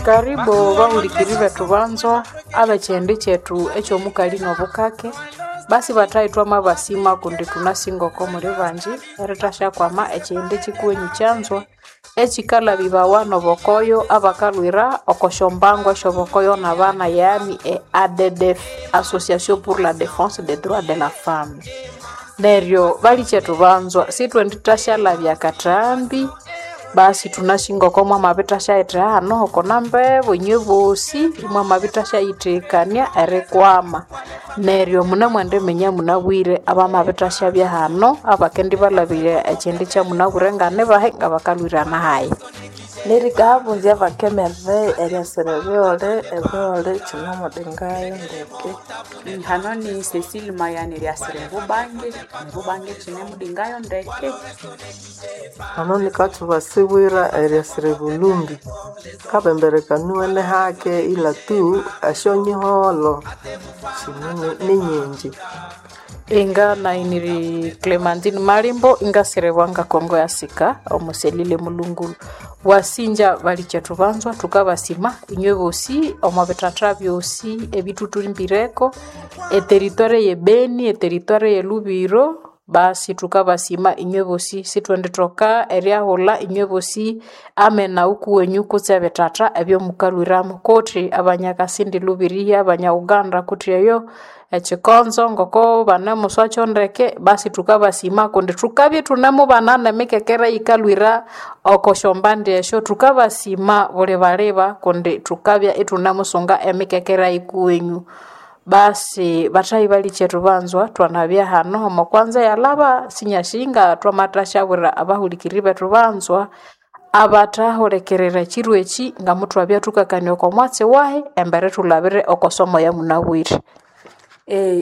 Karibu bahulikiri bethu banzwa ab'ekyihindi kyethu eky'omukali n'obukake. Basi bathayi twamabasima kundi thunasinga oko muli bangi erithasyakwama ekyihindi kyikuwenyu kyanzwa ekyikalhabibawa n'obokoyo abakalhwira oko syombango esyobokoyo n'abana, yani e ADDF, Association pour la Défense des Droits de la Femme. Neryo balikyethu banzwa sithwendithasyalhabya akathambi, basi thunasinga oko mwamabithasyayithegha hano hoko nambebu inywe bosi imwamabithasyayithegekania erikwama. Neryo munemwendiminya munabwire abamabithasyabya hano abakendibalhabirya ekyindi kyamunabwire nganibahi ngabakalhwirana hayi. Nerikahabunzya abakemerere eryasira ebighole, ebighole kyinemudingayo ndeke. Hano ni Cecile Mayani eryasira ebubange, ebubange kyinemudingayo ndeke. Hano nikatsuba sibwira eryasira ebulumbi. Kabemberekaniwe hake ila tu esyonyiholho shine ninyingi. Inga nainiri Clementine Malimbo ingasiribwa nga Kongo ya Sika omuselile mulungulu. Wasinja balikyethu banzwa thukabasima inywe bosi omo bithatha byosi ebithuthulimbireko eteritware ye Beni, eteritware ye Lubiro, basi thukabasima inywe bosi sithwendithoka eryahulha inywe bosi amena ukuwenyu kutse ebithatha ebyomukalhwiramu kuthi abanyakasindi Lubiriha, abanya Uganda kuthi eyo ekikonzo ngoko banemuswakyo ndeke, basi thukabasima kundi thukabya ithunemubana nemikekere eyikalhwira oko syombandi esyo. Thukabasima bulibaliba kundi thukabya ithunemusunga emikekere yikuwenyu. Basi bathayi balikyethu banzwa thwanabya hano omo kwanza eyalhaba sinyasinga thwamathasyabwira abahulikiriri bethu banzwa abathahulikirira ekyiro ekyi ngamuthwabya thukakania oko mwatsi wahi embere thulhabire oko somo yamunabwire.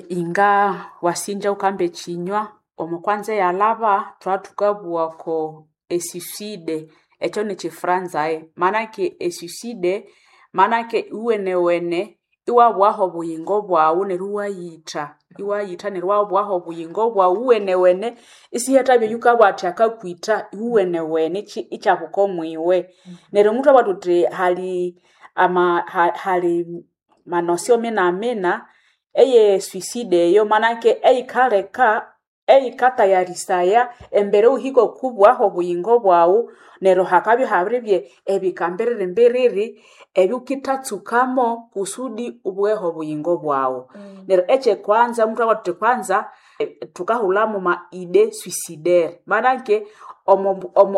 Inga wasinja wukamba ekyinywa omo kwanza eyalhaba thwathukabugha oko esuicide, ekyo nikyifranzayi, manake esuicide manake iwenewene iwabughaho obuyingo bwaghu neryo iwayitha, iwayitha neryo iwabughaho obuyingo bwaghu iwenewene isihathabya oyukabugha athi akakwitha, iwenewene ikyabuka omwiwe. Neryo muthwabugha thuthi hali ama hali manosio minamina eye suicide eyo manake eyikaleka eyikatayarisaya embere wuhike okubughaho obuyingo bwaghu neryo hakabya ihabiribya ebika mbiriri mbiriri ebyukithatsukamo kusudi ubugheho obuyingo bwaghu. Neryo ekyekwanza muthwabugha thuthi kwanza thukahulhamu ma idée suicidaire, manake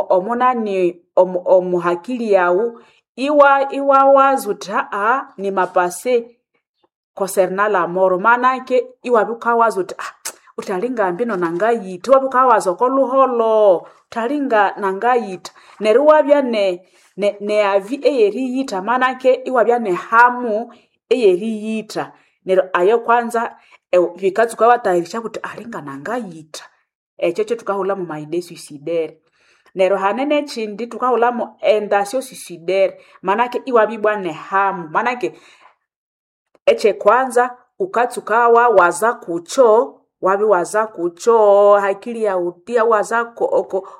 omunani omuhakili yaghu iwawaza wuthi haha nimapase concernant la mort, manake iwabya wukawaza wuthi wuthi alinga mbino nangayitha, iwabya wukawaza oko lhuholho wuthi alinga nangayitha, neryo iwabya ne avis eyeriyitha manake iwabya nehamu eyeriyitha. Neryo ayo kwanza bikatsuka iwatayarisya wuthi alinga nangayitha, ekyo kyathukahulhamu ma idée suicidaire. Neryo hane nekyindi thukahulhamu intention suicidaire, manake iwabya ibwa nehamu, manake ekyekwanza wukatsuka wawaza kukyo, wabiwaza kukyo hakili yaghu iwawaza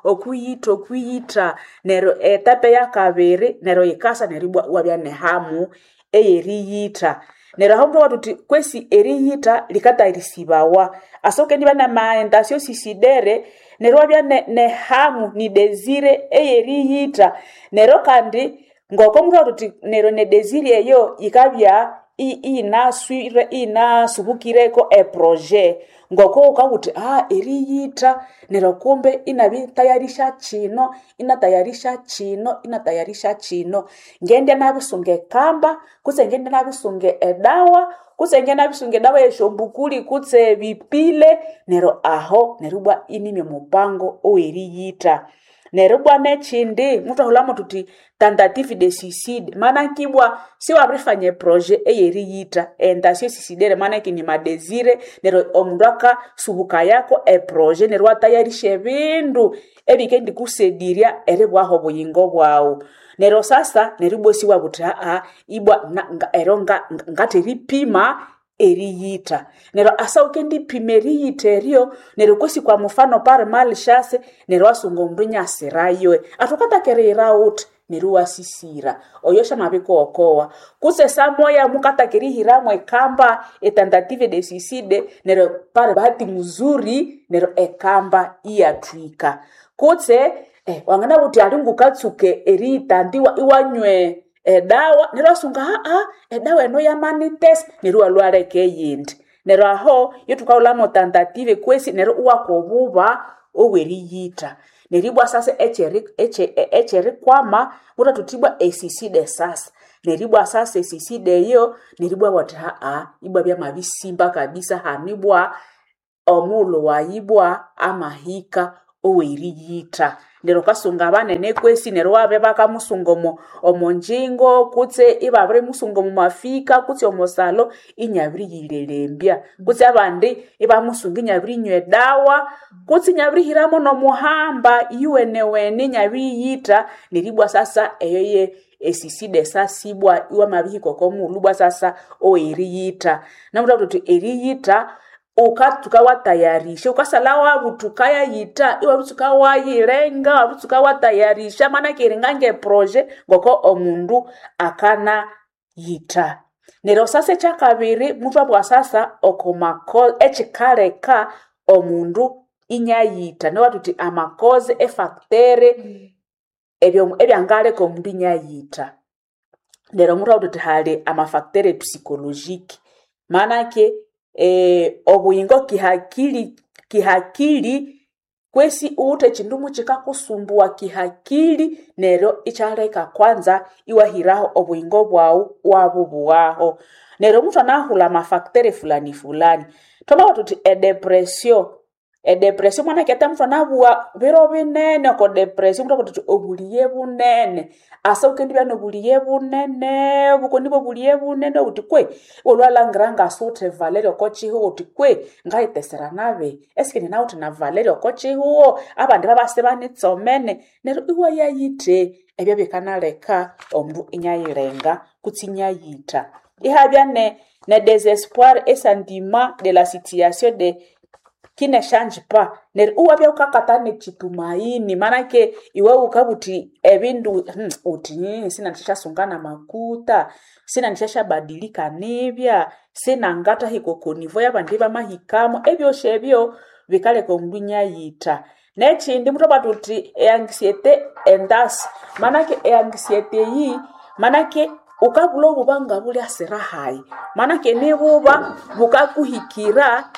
okwiyitha okwiyitha neryo etape eyakabiri neryo yikasa neryo ibwa iwabya nehamu eyeriyitha. Neryo aho muthwabugha thuthi kwesi eriyitha likatayarisibawa asa wukendibya nama intention suicidaire neryo iwabya nehamu ni desire eyeriyitha. Neryo kandi ngoko muthwabugha thuthi neryo ne desire eyo yikabya iyinaswire iyinasubukireko eprojet, ngoko wukabugha wuthi eriyitha neryo kumbe inabitayarisya kyino, inatayarisya kyino, inatayarisya kyino, ngendya nabisunga ekamba kutse ngendya nabisunga edawa kutse ngendya nabisunga edawa eyesyombukuli kutse ebipile, neryo aho neryo ibwa inimya omupango oweriyitha. Neryo ibwa nekyindi muthwahulhamu thuthi tentative de suicide, manake ibwa siwabirifanya eprojet eyeriyitha, intention suicidaire manake ni madesire neryo omundu akasubukayako eprojet neryo iwatayarisya ebindu ebikendikusedirya eribughaho obuyingo bwaghu. Neryo sasa neryo ibwa isiwabugha wuthi haha ibwa eryo ngatheripima eriyitha. Neryo asa wukendipima eriyitha eryo neryo kwesi kwa mufano par malchance neryo iwasunga omundu inyasirayo, athi wukataka eriyira wuthi? Neryo wasisira oyo syamabikuokowa kutse samoya mukataka erihiramu ekamba etentative de suicide, neryo pare bahati muzuri neryo ekamba iyathwika. Kutse wanganabugha wuthi ali ngukatsuke eriyitanda iwanywa edawa, neryo iwasunga aa edawa eno yamanitesa, neryo iwalhwa iwaleka eyindi. Neryo aho yethukaghulhamu tentative kwesi neryo iwakwa obuba obweriyitha. Neryo ibwa sasa ekyerikwama muthwathuthi ibwa esuicide sasa. Neryo ibwa sasa esuicide eyo neryo ibwa bathi aa ibwa byamabisimba kabisa hanu ibwa omughulhu wayi ibwa amahika oweriyitha. Neryo wukasunga abanene kwesi neryo ibabya bakamusunga omo ngyingo kutse ibabirimusunga omo mafika kutse omo salo inyabiriyilelembya. Kutse abandi ibamusunga inyabirinywa edawa kutse inyabirihiramu nomuhamba iyuwenewene inyabiriyitha. Neryo ibwa sasa eyo ye esuicide sasa ibwa iwamabihika oko mughulhu ibwa sasa oweriyitha. Namuthabwira thuthi eriyitha wukatsuka watayarisha, wukasalha wabuthuka yayitha iwabitsuka wayilenga, iwabitsuka watayarisha manake iringa nge projet ngoko omundu akanayitha. Neryo sasa ekyakabiri muthwabugha sasa oko ekyikaleka omundu inyayitha, neryo thuthi amakoze efactor ebyangaleka omundu inyayitha. Neryo muthwabugha thuthi hali amafacteur psychologique, manake obuyingo kihakili kwesi ghuwithe ekyindu mukikakusumbuwa kihakili neryo ikyaleka kwanza iwahiraho obuyingo bwaghu iwabubughaho. Neryo muthwanahulha amafacteur fulani fulani, thwamabugha thuthi edepression, edepression mwanake ate muthwanabugha biro binene oko depression muthwabugha thuthi obulighe bunene, asa wukendibya nobulighe bunene, bukendibya obulighe bunene wuthi kwe iwalhwa ngasiwuthe valeur oko kyihugho wuthi kwe ngayitesera nabi esikindi nawithe na valeur oko kyihugho, abandi babasa ibanitsomene, neryo iwayayithe. Ebyo bikanaleka omundu inyayilenga kutse inyayitha. Ihabya ne desespoir e sentiment de la situation de qui ne change pas, neryo iwabya wukakatha nekyitumaini manake iwe wukabugha wuthi ebindu wuthi sinandisyasunga namakuta, sinandisyasyabadilika nibya, sinangathahika oko niveau yabandi bamahikamu, ebyosi ebyo bikaleka omundu inyayitha. Nekyindi muthwabugha thuthi eanxiety endasi, manake eanxiety eyi manake wukabulha obuba ngabulyasira hayi, manake nibuba bukakuhikira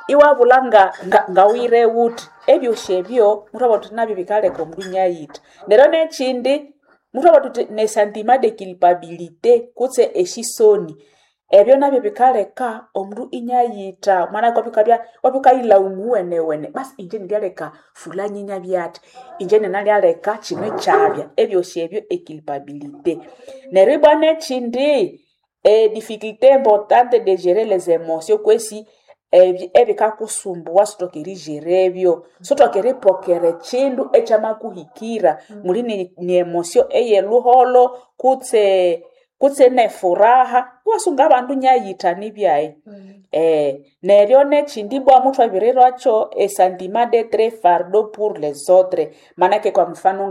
iwabulha ngawire wuthi. Ebyosi ebyo muthwabugha thuthi nabyo bikaleka omundu inyayitha. Neryo nekyindi muthwabugha thuthi ne sentiment de culpabilité kutse esyisoni, ebyo nabyo bikaleka omundu inyayitha manake iwabya wukayilaumu iwenewene, basi inje nilyaleka fulani inyabya athi, inje ninalyaleka kino ikyabya, ebyosi ebyo eculpabilité. Neryo ibwa nekyindi edifficulté importante de gerer les émotions kwesi ebikakusumbuwa sithoke erijera ebyo, sithoke eripokera ekyindu ekyamakuhikira, muli ni emotion eyelhuholho kutse nefuraha, iwasunga abandu inyayitha nibyayi. Neryo nekyindi ibwa muthwabirirwakyo esentiment d'etre fardeau pour les autres, manake kwa mfano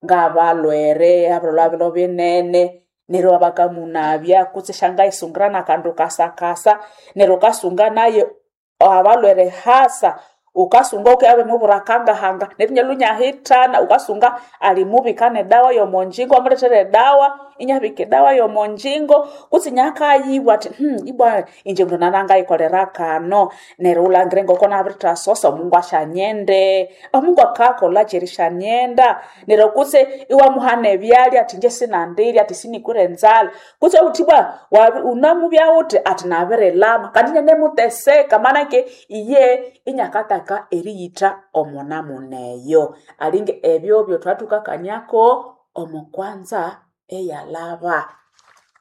ngabalhwere abalhwere biro binene, neryo bakamunabya kutse syangayisungira nakandu kasakasa, neryo wukasunga nayo abalhwere hasa wukasunga wukabya wabimubwira akangahanga neryo inyalhwa inyahithana, wukasunga alimubika nedawa yomonjingo wamulethera edawa inyabika edawa yomonjingo kutse inyakayibwa athi ibwa inje mundu nanangayikolera kano, neryo wulhangire ngoko nabirithasosa omungu asyanyende, omungu akakolhakyi erisyanyenda, neryo kutse iwamuha nebyalya athi inje sinandirya athi sinikwire enzalha, kutse wuthi ibwa wunamubya wuthi athi nabirilama kandi inyanemuteseka manake iye inyakataka eriyitha omunamuna eyo. Alinga ebyo byethwathukakaniako omo kwanza eyalhaba.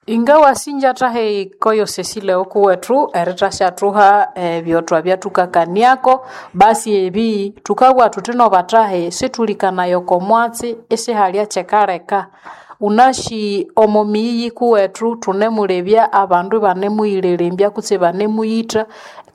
Inga wasinja thahi koyo Cecile okuwethu erithashathuha ebyo thwabyathukakaniako, basi ebi thukabugha thuthi nobathahi sithulikanaya oko mwatsi isihalya kyekaleka. Wunasi omo miyi yikuwethu thunemulebya abandu ibanemuyilelembya kutse ibanemuyitha.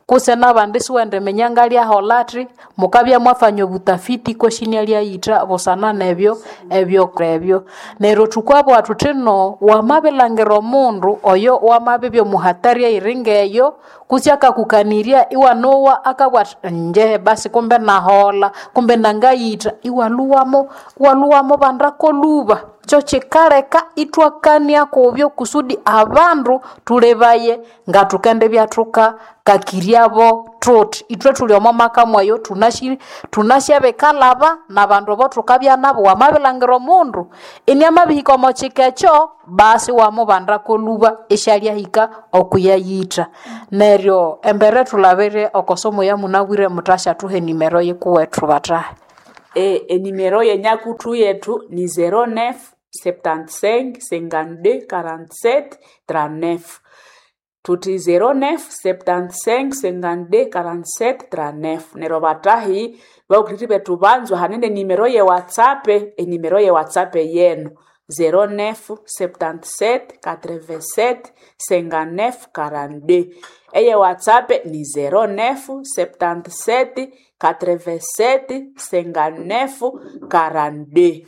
Kutse n'abandi siwendiminya ngalyahola athi, mukabya mwafanya obutafiti kwesi inialyayitha busana nebyo ebyo. Neryo thukabugha thuthi no wamabilhangira omundu oyo wamabibya omuhatari eyiri ngeyo kutse akakukanirya iwanowa akabugha athi nje basi kumbe nahola, kumbe nangayitha, iwalhuwamo iwalhuwamubandako lhuba. Kyo kyikaleka ithwakania kubyo kusudi abandu thulebaye ngathukendibya thukakakiryabo thuthi. Ithwe thuli omo maka mweyo thunasi thunasyabikalhaba n'abandu abo thukabya nabo. Wamabilhangira omundu iniamabihika omo kika ekyo basi iwamubandako lhuba isyalyahika okuyayitha. Neryo embere thulabire oko somo eyamunabwire muthashathuha enimero yikuwethu bathahi. Enimero yenyakuthu yethu ni 09 75 52 47 39. Thuthi 09 75 52 47 39. Neryo bathahi bahulikiriri bethu banzwa hane nenimero ye WhatsApp, enimero ye WhatsApp yenu 09 77 87 59 42. Eye WhatsApp ni 09 77 87 59 42.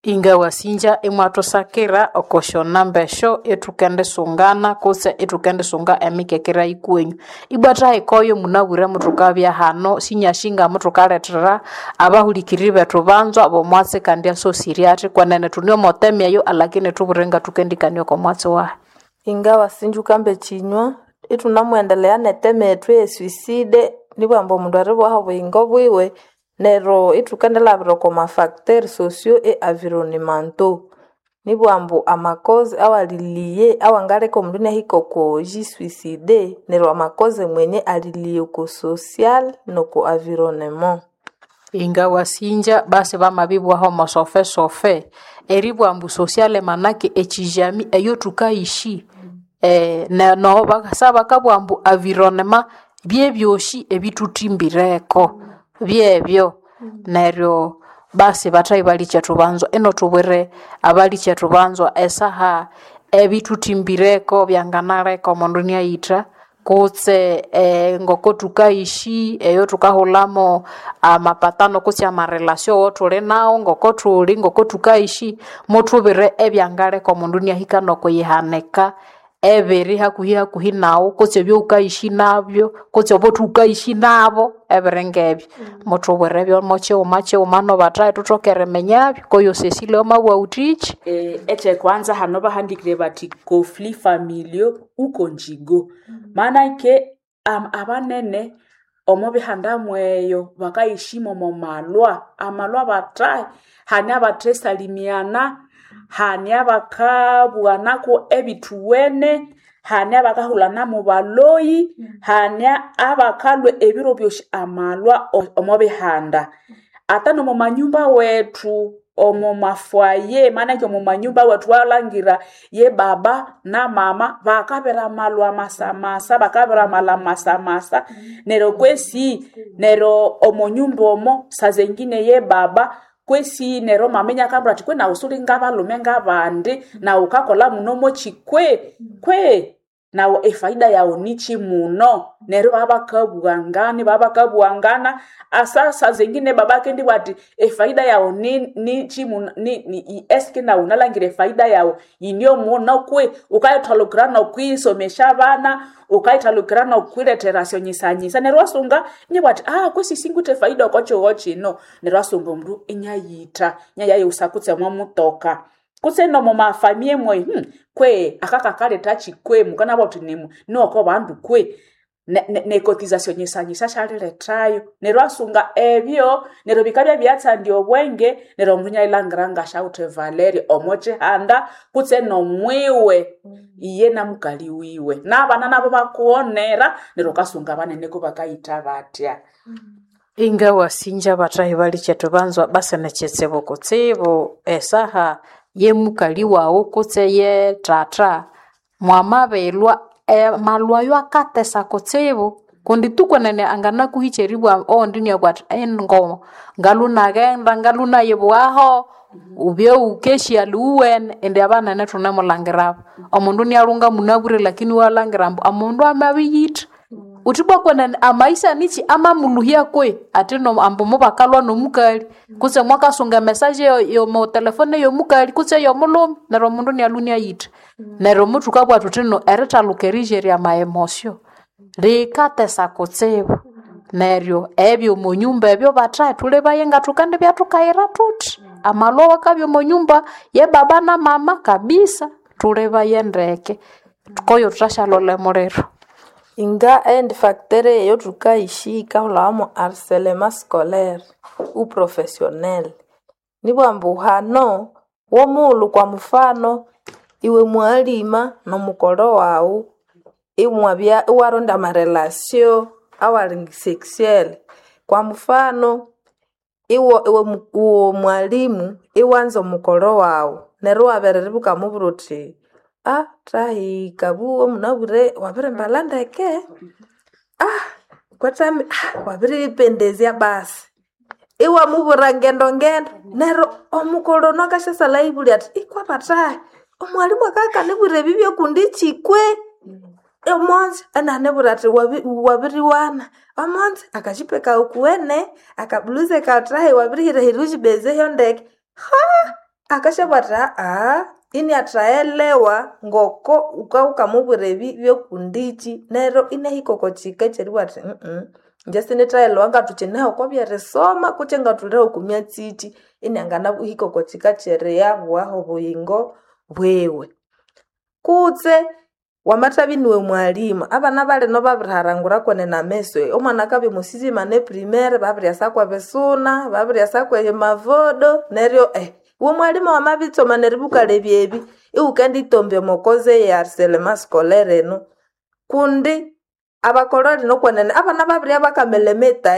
Ingawasinja imwathusakira oko syonamba esyo ithukendisungana kutse ithukendisunga emikekera yikuwenyu. Ibwa thahikayo munabwire muthukabya hano sinyasi ngamuthukalethera abahulikiriri bethu banzwa b'omwatsi kandi asosire athi kwenene thune omo theme eyo alakini thubwire ngathukendikania oko mwatsi wahi. Ingawasinja wukambe ekinywa ithunamuendelea neteme yethu eye suicide nibwamba omundu eribwaho obuyingo bwiwe neryo ithukendilhabira oko mafacteur socio e environnementaux nibwambu amakoze awaliliye awangaleka omundu inahika oko jisuicide neryo amakoze mwenye aliliye oko social noko environnement. Ingawasinja basi bamabibwaho omo sofe sofe eribugha ambu sociale manake ekijami eyothukaishi noho bakasa bakabugha ambu environnement byebyosi ebithuthimbireko byebyo. Neryo basi bathahi balikyetu banzwa ino thubwire abalikyetu banzwa esaha ebithuthimbireko byanganaleka omundu iniayitha kutse ngoko thukaishi eyo thukahulhamu amapatano kutse amarelation awathuli nawo ngoko thuli ngoko thukaishi muthubire ebyangaleka omundu iniahika nokuyihanika ebiri hakuhi hakuhi nawu kutse ebyowukaishi nabyo kutse obothukaishi nabo ebiri ngebyo. Muthubwire byomo kyighuma kyighuma nobathahi thuthoke eriminyabyo koyo Cecilia wamabugha wuthiki. Ekyekwanza hano bahandikire bathi conflit familiaux ou conjugaux. Manake abanene omo bihanda mweyo bakayishima omo malwa, amalwa bathahi hane abathesalimiana, hane abakabughanako ebithuwene, hane abakahulhana mubaloyi, hane abakalhwa ebiro byosi amalwa omo bihanda. Ata nomo manyumba wethu omo mafoyer manake omo manyumba wethu walhangira ye baba na mama bakabira amalwa masamasa, bakabira amalwa masamasa neryo kwesi neryo omo nyumba omo sazengine ye baba kwesi neryo mama iniakabwira athi kwe nawu suli ngabalhume ngabandi nawu wukakolha muno mochi kwe kwe nawu efaida yawu nikyi muno neryo babakabugha babakabugha asa sazengine baba akendibugha athi efaida yawu nikyi muno eske nawu wunalhangira efaida yawu yinyo muno kwe wukayithalukira nokwisomesya abana wukayithalukira nokwilethera syonyisanyisa neryo iwasunga inibugha athi kwesi singwithe efaida oko kyihugho kyino neryo iwasunga omundu inayitha inayayighusa kutse omwa mutoka kutse nomo mafamie mweyu kwe akakakalethakyi kwe mukanabugha wuthi niwoko bandu kwe necotization nyisanyisa syalilethayo neryo iwasunga ebyo neryo bikabya byatsandya obwenge neryo omundu inayilhangira ngasyawithe valeri omo kyihanda kutse nomwiwe iye namukali wiwe nabana nabo bakughonera neryo wukasunga abanene kubakayitha bathya. Ingawasinja bathahi balikyetu banzwa basi nikyitsibu kutsibu esaha yemukali wawu kutse ye thatha mwamabilhwa amalhwa ayo akatesa kutsibu kundi tu kwenene anganakuhikya eribugha owundi iniabugha athi engo ngalhu naghenda ngalhu nayibughaho wubye wukesya lhuwene indi abanene thunemulhangirabo. Omundu inialhunga munabwire lakini iwalhangira ambu omundu amabiyitha. Uthibwa kwenene amaisha nichi amamuluhya kwe ati no ambu mubakalwa nomukali kutse mwakasunga emesaje yomo telefone yomukali kutse yomulhume neryo omundu inialwa iniayitha. Neryo muthukabugha thuthi no erithaluka erijerya amaemosio likatesa kutsibu. Neryo ebyo omonyumba ebyo bathahe thulebaye ngathukendibya thukayira thuthi. Amalwa awakabya omonyumba yebaba na mama kabisa thulebaye ndeke koyo thuthashalolha emuliro. Inga endi facteur eyothukayishika yikahulhawamu harcèlement scolaire ou professionnel. Nibugha ambu hano womughulhu kwa mufano iwe mughalima nomukolho waghu imwabya iwaronda amarelation awali sexuel. Kwa mufano iwe iwe mwalimu iwanza omukolho waghu neryo iwabiriribya iwukamubwira wuthi thahi kabugho munabwire wabirimbalha ndeke, kwathami wabiriyipendezya basi. Iwamubwira ngendo ngendo neryo omukolho ono akasyasalha ayibulya athi ikwa bathahi omwalimu akabya akanibwira ebi byokundiki kwe? Omonzi inanibwira athi wabiriwana, omonzi akajipe kawu kuwene, akabuluze kawu thahi wabirihirahira wujibezeho ndeke. Akasyabugha athi iniathaghelewa ngoko wukawukamubwira ebi byokundiki neryo inahika oko kika ekyeribugha athi ingye sinithaghelewa ngathukineho oko byerisoma kutse ngathuliho oko myatsi ki inianganahika oko kika kyeriyabughaho obuyingo bwiwe. Kutse wamathabya iniwe mwalimu abana balino babiriharangura kwenene ameso omwana akabya omo sixième année primaire babiryasa kwebisuna babiryasa kwemavodo neryo iwe mwalimu wamabitsoma neribya wukalebya ebi iwukenditombya omo cause eye harcèlement scolaire eno kundi abakolho lino kwenene abana babiribya bakamelemeta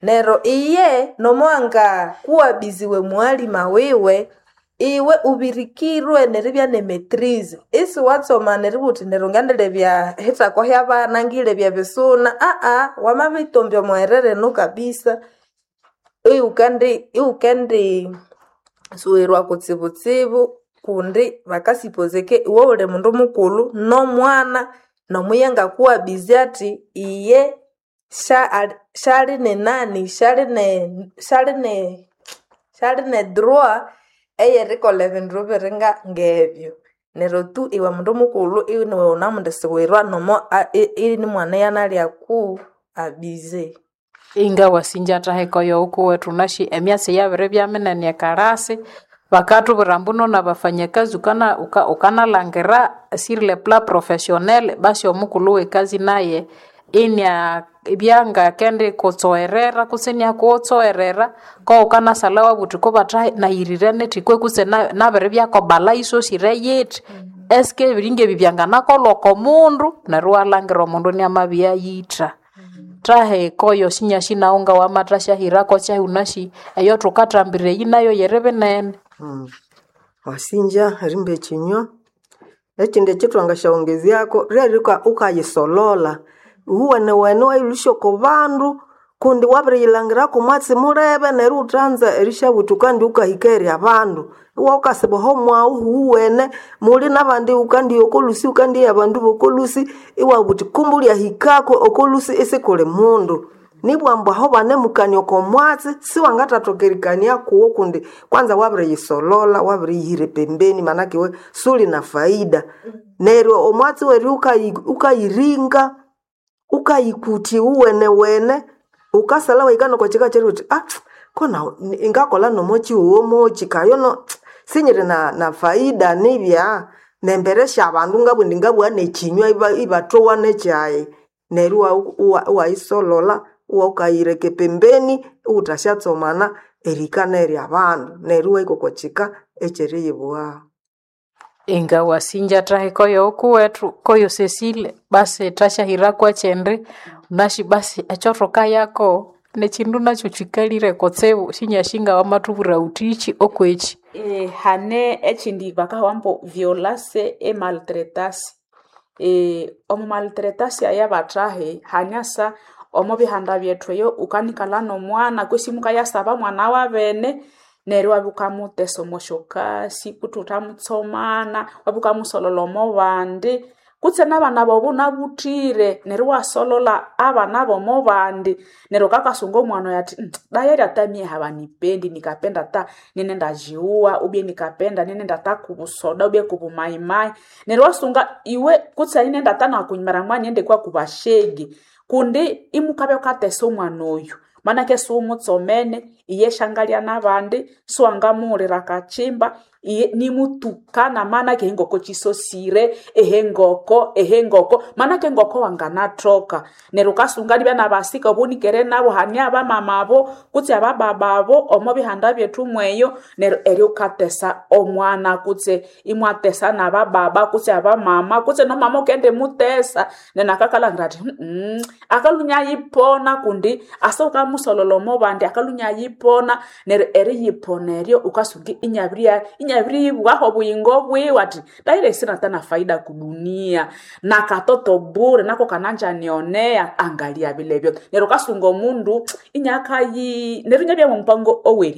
neryo iye nomuwanga kuwabiziwe mughalima wiwe iwe ubirikirwe neribya ne maitrise isiwatsoma neribugha wuthi neryo ngendilebya hithako hyabana ngilebya ebisuna wamabitombya omwerere eno kabisa iwukendi iwukendi suwirwa kutsibutsibu kundi bakasipozeke iwe wuli mundu mukulhu nomwana nomuya ngakuwabizi athi iye syali nenani syali ne droit eyerikolha ebindu biringa ngebyo. Neryo tu iwe mundu mukulhu iniwe wunamundisiwirwa nomo inimwana iyanalyaku abize. Inga wasinja thaheka oyo wukuwethu wunasi emyatsi yabiribya minene ekarasi bakathubwira ambu nona bafanyakazi wukanalhangira sur le plan professionnel basi omukulhu wekazi naye inia byanga kutsowerera kutse iniakuwutsowerera kowukanasalha iwabugha wuthi kobathahi nayirire nithi kwe kutse nabiribyako bala yisosire yithi eske ebiringa ebi byanganakolha oko mundu neryo iwalhangira omundu iniamabiyayitha. Thaheka oyo sinyasi nawu ngawamathasya kyahi wunasi eyo thukathambira eyi nayo yiri binene. Wasinja erimba ekinywa ekindi ekyithwangasyawongezyako ryerikwa wukayisololha iwuwenewene iwayilhusya oko bandu kundi wabiriyilhangirako omwatsi mulebe neryo iwuthanza erisyabuthi wukandi wukahika eri abandu iwa wukasiba oho mwawu huwene muli nabandi wukandiya okolusi wukandiya abandu bokolusi iwabugha wuthi kumbe wulyahikako okolusi isikuli mundu nibwa ambu aho banemukania oko mwatsi siwangathathoka erikania kuwo kundi kwanza wabiriyisololha wabiriyihira epembeni manake iwe suli na faida neryo omwatsi weryo wukayiringa wukayikuthya iwuwenewene wukasalha iwahika noko kika kyeribugha wuthi kona ngakolha nomokyihugho moki kayono sinyiri na faida nibya nembere syabandu ngabugha indi ngabugha nekinywa ibathowa nekyayi neryo iwayisololha iwawukayireka epembeni iwuthasyatsomana erihika neri abandu neryo iwahika oko kika ekyeriyibughaho. Inga wasinja thaheka oyo wukuwethu koyo Cecile basi thasyahira kwekyindi wunasi basi ekyothukayako nekyindu nakyo kyikalire kutsibu sinyasi ngawamathubwira wuthi okwekyi. Hane ekyindi bakahawa ambu violence e maltretance. Omu maltretance eyabathahi hanyasa omo bihanda byethu eyo wukanikalha nomwana kwesi mukayasaba mwana wabene neryo iwabya wukamuthesa omo syokasi kutse iwuthamutsomana iwabya wukamusolholha omo bandi. Kutse n'abana bobo nabuthire, neryo iwasolola abana b'omo bandi, neryo kakasunga omwana oyo athi dayari ata mie habanipendi nikapenda ata ninendajiua ubye nikapenda ninenda ata kubusoda ubye kubumayimayi. Neryo iwasunga iwe kutse inenda ata nakunyumira nighende kwa kubashege kundi imukabya wukatesa omwana oyu manake siwumutsomene, iye syangalya n'abandi, siwangamughulira akakimba, iye nimutukana manake engoko kyisosire, ehengoko ehengoko, manake engoko wanganathoka. Neryo wukasunga nibya nabasika obunikere nabo hane abamama abo kutse abababa abo omo bihanda byethu mweyo, neryo eryo wukatesa omwana kutse imwatesa n'abababa kutse abamama kutse nomama wukendimutesa neryo nakakalhangira athi akalhwa inyayipona kundi asa wukamusololha omo bandi akalhwa inyayipona neryo eriyipona eryo wukasunga inyabirya inyabiribwaho obuyingo bwiwe athi dayire sinata na faida kudunia nakatoto bure nako kananjanionea angalia bilebyo. Neryo wukasunga omundu inyakayi neryo inyabya mwomupango oweri.